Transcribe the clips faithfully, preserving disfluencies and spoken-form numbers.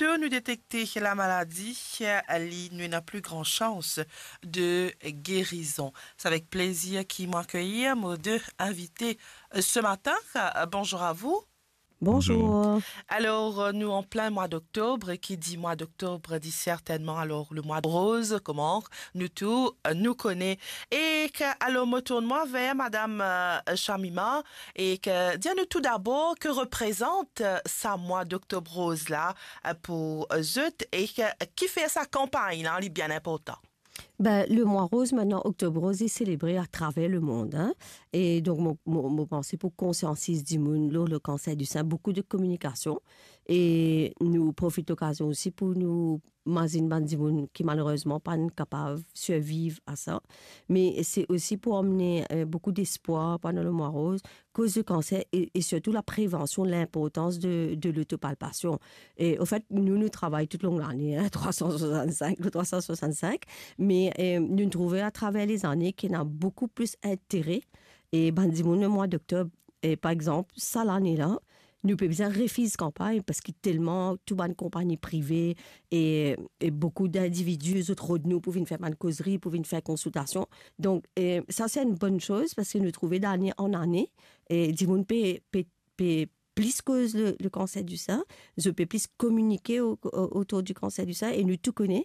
to nou detekte lamaladi, li, nou ena pli gran sans de gerizon. Se avek plezir ki mo akeyir mo de invite, euh, se matin. Euh, bonzour a vou. Bonzour. Alor, euh, nou an plin mwa doktob, ki di mwa doktob di sertennman, alor, le mwa roz, kouma nou tou, euh, nou kone. E ke, alor, mo tourn mwa ver madam, euh, Shamima, e ke, dir anou tou dabor, ki reprezant, euh, sa mwa doktob roz la, euh, pou, euh, zot, e ke, kifer sa kanpagn la, li bien inportan? Ben, le mwa roz, mintnan, Oktob Roz, li selebre atraver lemond, hein. E donk, mo, mo, mo panse pou konsiantiz dimoun lor le kanser di sin, boukou de kominikasion. E nou profit lokazion osi pou nou mazinn bann dimoun ki malerezman pa'nn kapav sirviv a sa. Me se osi pou amne, euh, boukou despwar pandan le mwa roz, koz de kanser e, e sirtou la prevansion, linportans de, de lotopalpasion. E, anfet, nou, nou travay tou long lane, hein, trwa san swasann-sink, le trwa san swasann-sink, me, euh, nou trouve atraver lezane ki ena boukou plis intere, e bann dimoun le mwa doktob, e par exanp, sa lane la, nou pe bizin refiz kanpagn, parski telman tou bann konpagni prive e, e boukou dindividi, zot rod nou pou vinn fer bann kozri, pou vinn fer konsiltasion. Donk, e, sa se enn bonn soz, parski nou trouve dane an ane, e dimoun pe, pe, pe plis koz le, le kanser di sin, zot pe plis kominike o, o, otour di kanser di sin, e nou tou kone,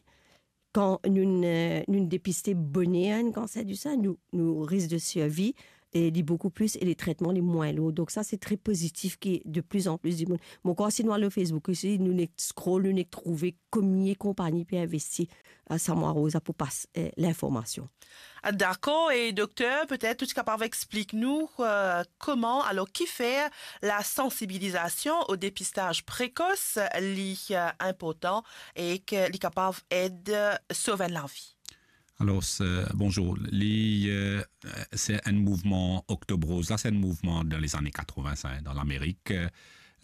kan nou, euh, nou depiste boner enn kanser di sin, nou, nou risk de sirvi, e li boukou plis, e le tretman li mwin lour. Donk sa, se tre pozitif ki de pli an pli dimoun. Mo krwar si nou al lor Facebook osi, nou nek scroll, nou nek trouve komie konpagni pe investi, euh, sa mwa roz la pou pas, euh, linformasion. Ah, dakor. E dokter, petet ou ti kapav explik nou, euh, kouma, alor, kifer la sansibilizasion o depistaz prekos, li, euh, inportan e ke li kapav ed, euh, sov enn lavi? Alor, se, bonzour. Li, euh, se enn mouvman, Oktob Roz la, se enn mouvman dan lezane katrevin, sa, dan Lamerik. Euh,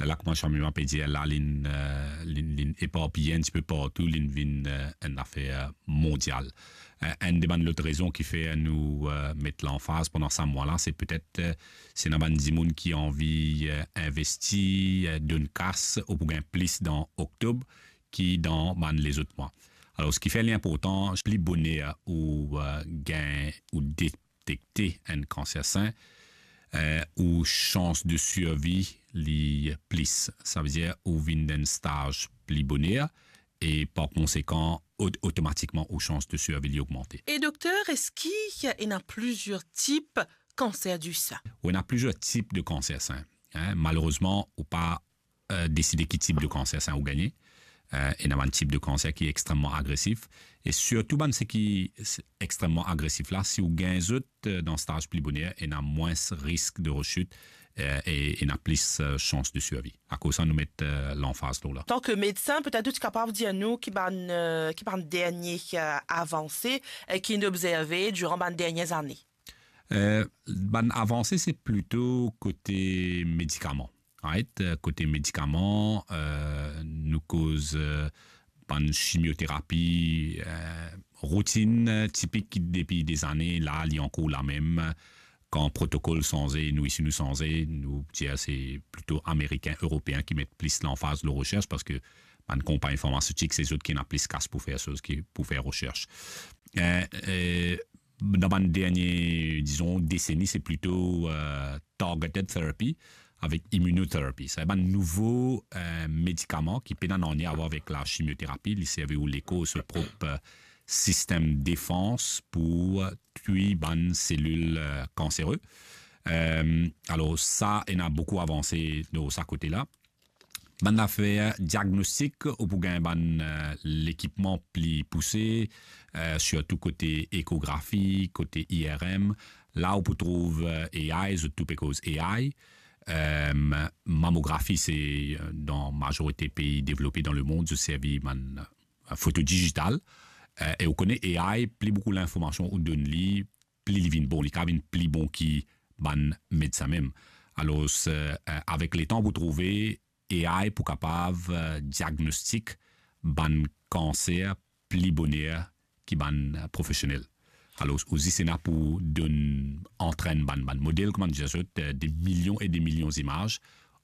la, kouma Shamima pe dir la, linn, euh, linn, linn eparpiye enn tipe partou, linn vinn, euh, enn zafer mondial. Euh, enn de bann lot rezon kifer nou, euh, met lanfaz pandan sa mwa la, se petet, euh, si ena bann dimoun ki anvi, euh, investi, euh, donn kas, ou pou gagn plis dan Oktob ki dan bann lezot mwa. Alor, seki fer li inportan, pli boner ou, euh, gagn ou detekte enn kanser sin, euh, ou sans de sirvi li plis. Savedir ou vinn dan enn staz pli boner e par konsekan, ot-, otomatikman ou sans de sirvi li ogmante. E dokter, eski ena plizier tip kanser di sin? Ou ena plizier tip de kanser sin, hein. Malerezman, ou pa, euh, deside ki tip de kanser sin ou gagne. Euh, ena bann tip de kanser ki extrememan agresif. E sirtou bann seki extrememan agresif la, si ou gagn zot, euh, dan staz pli boner, ena mwins risk de rechit, euh, e ena plis, euh, sans de sirvi. Akoz sa nou met, euh, lanfaz lor la. Antan ki medsin, petet ou ti kapav dir nou ki bann, euh, ki bann dernie, euh, avanse, euh, ki nou obzerve diran bann dernie zane? Euh, bann avanse, se plito kote medikaman. Right? Euh, kote medikaman, euh, nou koz, euh, bann chimioterapi, euh, routine, euh, tipik ki depi dezane, la, li ankor lamem. Kan protokol sanze, nou isi nou sanze, nou dir se plito Amerikin, Eropeen ki met plis lanfaz lor resers, parski bann konpagni farmasetik, se zot ki ena plis kas pou fer soz ki pou fer resers. Euh, euh, dan bann dernie, dizon, deseni, se plito, euh, targeted therapy avek immunotherapy. Sa bann nouvo, euh, medikaman ki pena nanye a war avek la chimioterapi, li servi ou lekor so prop, euh, sistem defans pou, euh, twi bann selil, euh, kansere. Euh, alor, sa ena boukou avanse dan sa kote la. Bann zafer diagnostik, ou pou gagn bann, euh, lekipman pli pouse, euh, sirtou kote ekografi, kote I R M. La, ou pou trouv, euh, A I, zot tou pe koz A I. Euh, mamografi, se, euh, dan mazorite pei devlope dan lemond, zot servi bann, euh, foto dizital. Euh, e ou kone A I, pli boukou linformasion ou donn li, pli li vinn bon, li kapav vinn pli bon ki bann medsin mem. Alor, euh, avek letan, pou trouve A I pou kapav, euh, diagnostik bann kanser pli boner ki bann, euh, profesionel. Alor, ou zis ena pou donn, antrenn bann, bann model, kouma nou dir zot, euh, de milion e de milion zimaz,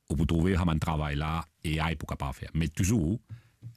ou pou trouve sa bann travay la, A I pou kapav fer. Me touzour,